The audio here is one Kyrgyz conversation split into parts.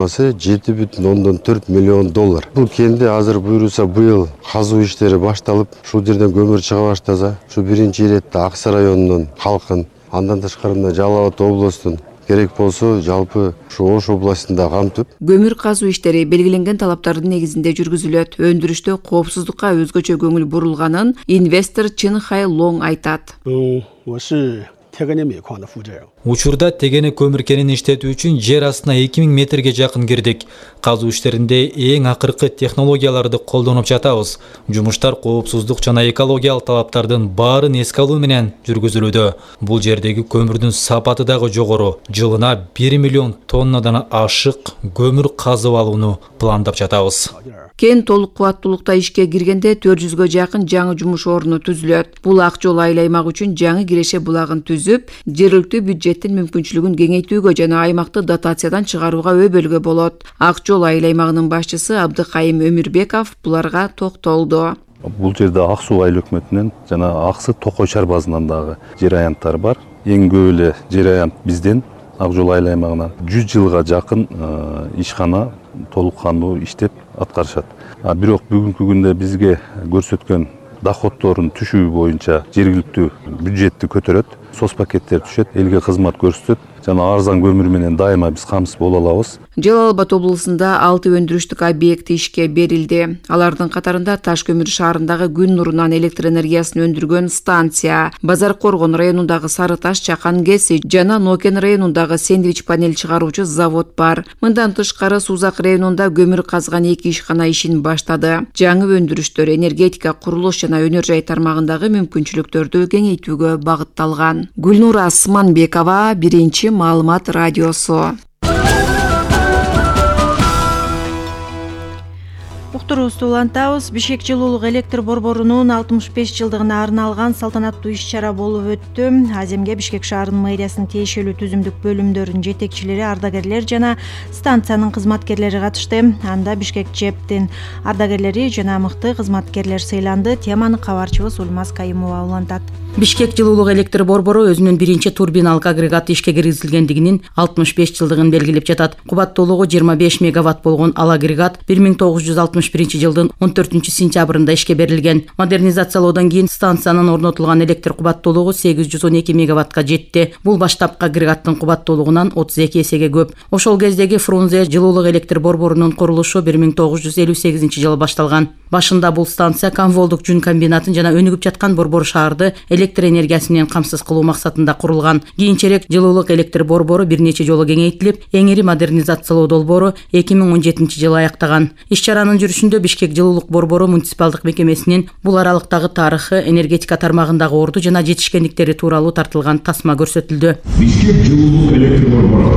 $7,4 миллион. Бул кенде азыр буйруса быйыл казуу иштери башталып, ушул жерден көмүр чыга баштаса, ушу биринчи иретте Аксы районунун халкын, андан тышкары Жалал Абад облустун керек болсо жалпы ушу Ош областында камтып. Көмүр казуу иштери белгиленген талаптардын негизинде жүргүзүлөт. Өндүрүштө коопсуздукка өзгөчө көңүл бурулганын инвестор Чин Хай Лонг айтат. Учурда тегене көмүр кенин иштетүү үчүн жер астына 2000 метрге жакын кирдик. Казуу иштеринде эң акыркы технологияларды колдонуп жатабыз. Жумуштар коопсуздук жана экологиялык талаптардын баарын эске алуу менен жүргүзүлүүдө. Бул жердеги көмүрдүн сапаты дагы жогору. Жылына 1 миллион тоннадан ашык көмүр казып алууну пландап жатабыз. Кен толук кубаттуулукта ишке киргенде 400гө жакын жаңы жумуш орну түзүлөт. Бул Ак жол айыл аймак үчүн жаңы киреше булагын түзүп, жергиликтүү бюджеттин мүмкүнчүлүгүн кеңейтүүгө жана аймакты дотациядан чыгарууга өбөлгө болот. Ак жол айыл аймагынын башчысы Абдыкайым Өмүрбеков буларга токтолду. Бул жерде Ак Суу айыл өкмөтүнөн жана Аксы Токой чарбазынан дагы жер аянттар бар. Эң көп эле жер аянт бизден Ак жол айыл аймагынан 100 жылга жакын ишкана толук кандуу иштеп аткарышат. Бирок бүгүнкү күндө бизге көрсөткөн доходдорун түшүү боюнча жергиликтүү бюджетти көтөрөт, сос пакеттер түшөт, элге кызмат көрсөтөт жана арзан көмүр менен дайыма биз камсыз боло алабыз. Жалал Абад облусунда 6 өндүрүштүк объект ишке берилди. Алардын катарында Таш көмүр шаарындагы күн нурунан электр энергиясын өндүргөн станция, Базар Коргон районундагы Сары Таш чакан кеси жана Нокен районундагы сэндвич панель чыгаруучу завод бар. Мындан тышкары Сузак районунда көмүр казган 2 ишкана ишин баштады. Жаңы өндүрүштөр энергетика, курулуш жана өнөр жай тармагындагы мүмкүнчүлүктөрдү кеңейтүүгө багытталган. Гүлнура Асманбекова, Биринчи маалымат радиосу. Уктуруубузду улантабыз. Бишкек жылуулук электр борборунун 65 жылдыгына арналган салтанаттуу иш-чара болуп өттү. Аземге Бишкек шаарынын мэриясынын тиешелүү түзүмдүк бөлүмдөрүнүн жетекчилери, ардагерлер жана станциянын кызматкерлери катышты. Анда Бишкек ЖЭБтин ардагерлери жана мыкты кызматкерлер сыйланды. Теманы кабарчыбыз Ульмаз Кайымова улантат. Бишкек жылуулук электр борбору өзүнүн биринчи турбиналык агрегаты ишке киргизилгендигинин 65 жылдыгын белгилеп жатат. Кубаттуулугу 25 мегаватт болгон ал агрегат 1961 жылдын 14 сентябрында ишке берилген. Модернизациялоодон кийин станциянын орнотулган электр кубаттуулугу 812 мегаваттка жетти. Бул баштапкы агрегаттын кубаттуулугунан 32 эсеге көп. Ошол кездеги Фрунзе жылуулук электр борборунун курулушу 1958 жылы башталган. Башында бул станция Камволдук жүн комбинатын жана өнүгүп жаткан борбор шаарды электр энергиясы менен камсыз кылуу максатында курулган. Кийинчерээк жылуулук электр борбору бир нече жолу кеңейтилип, эң ири модернизациялоо долбоору 2017 жылы аяктаган. Иш-чаранын жүрүшүндө Бишкек жылуулук борбору муниципалдык мекемесинин бул аралыктагы тарыхы, энергетика тармагындагы орду жана жетишкендиктери тууралуу тартылган тасма көрсөтүлдү. Бишкек жылуулук электр борбору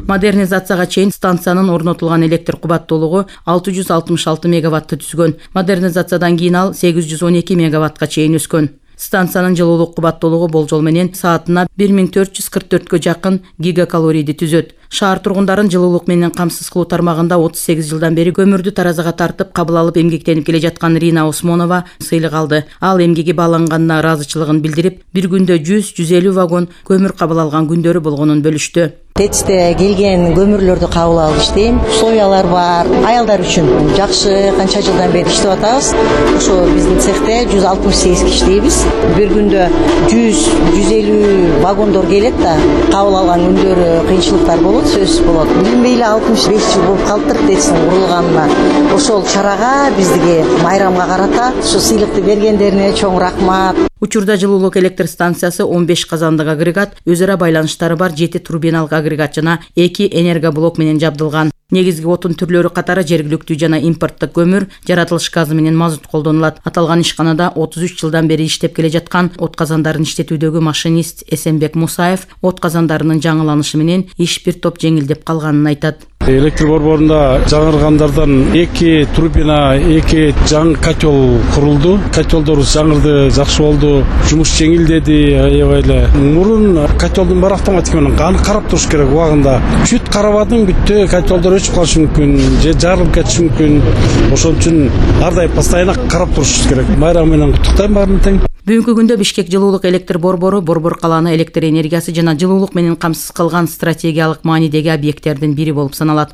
Модернизацияга чейин станциянын орнотулган электр кубаттуулугу 666 мегаватты түзгөн. Модернизациядан кийин ал 812 мегаваттка чейин өскөн. Станциянын жылуулук кубаттуулугу болжол менен саатына 1444гө жакын гигакалорийди түзөт. Шаар тургундарын жылуулук менен камсыз кылуу тармагында 38 жылдан бери көмүрдү таразага тартып, кабыл алып эмгектенип келе жаткан Рина Осмонова сыйлык алды. Ал эмгеги бааланганына ыраазычылыгын билдирип, бир күндө 100-150 вагон көмүр кабыл алган күндөрү болгонун бөлүштү. ТЭЦте келген көмүрлөрдү кабыл алып иштейм. Условиялар бар. Аялдар үчүн жакшы, канча жылдан бери иштеп атабыз. Ошо биздин цехте 168 киши иштейбиз. Бир күндө 100-150 вагондор келет да, кабыл алган күндөрү кыйынчылыктар болот, сөзсүз болот. Билинбей эле 65 жыл болуп калыптыр ТЭЦтин курулганына. Ошол чарага бизге майрамга карата ушу сыйлыкты бергендерине чоң рахмат. Учурда жылуулук электр станциясы 15 казандык агрегат, өз ара байланыштары бар 7 турбиналык агрегат жана 2 энергоблок менен жабдылган. Негизги отун түрлөрү катары жергиликтүү жана импорттук көмүр, жаратылыш газы менен мазут колдонулат. Аталган ишканада 33 жылдан бери иштеп келе жаткан от казандарын иштетүүдөгү машинист Эсенбек Мусаев от казандарынын жаңыланышы менен иш бир топ жеңилдеп калганын айтат. Электр борборунда жаңыргандардан 2 турбина, 2 жаңы котел курулду. Котелдор жаңырды, жакшы болду. Жумуш жеңилдеди, аябай эле. Мурун котелдун бар автоматика менен аны карап туруш керек убагында. Бүт карабадың бүттө котелдор өчүп калышы мүмкүн, же жарылып кетиши мүмкүн. Ошон үчүн ар дайым постоянно карап туруш керек. Майрам менен куттуктайм баарын тең. Бүгүнкү күндө Бишкек жылуулук электр борбору Борбор калааны электр энергиясы жана жылуулук менен камсыз кылган стратегиялык маанидеги объекттердин бири болуп саналат.